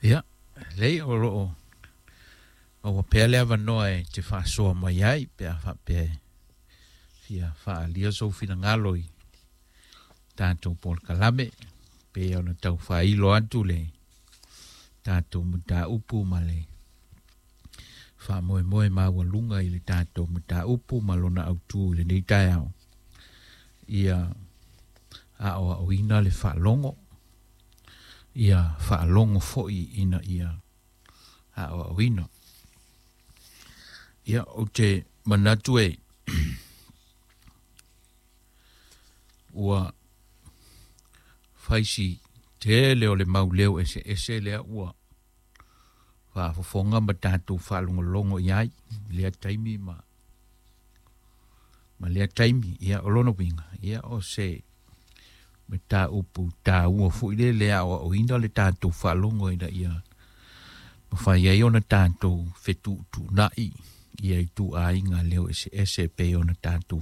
Ia, lelei o lo o maua pea le avanoa e te faasoa mai ai pe a faapea e fia faaalia sou finagalo i tatou polokalame pei ona tau faailo atu le tatou mataupu ma le faamoemoe maualuga i le tatou mataupu ma lona autu i lenei taeao. Ia aoaoina le faalogo, ia faalogo foi ina ia aoaoina. Ia, ou te manatu e ua fai si tele o le mau leo eseese lea ua faafofoga ma tatou faalogologo i ai i lea taimi ma ma lea taimi. Ia, o lona uiga, ia, o se mataupu taua foi lea le aoaoina le tatou faalogo ina ia mafai ai ona tatou fetuutuunai ia ituaiga leo eseese e pei ona tatou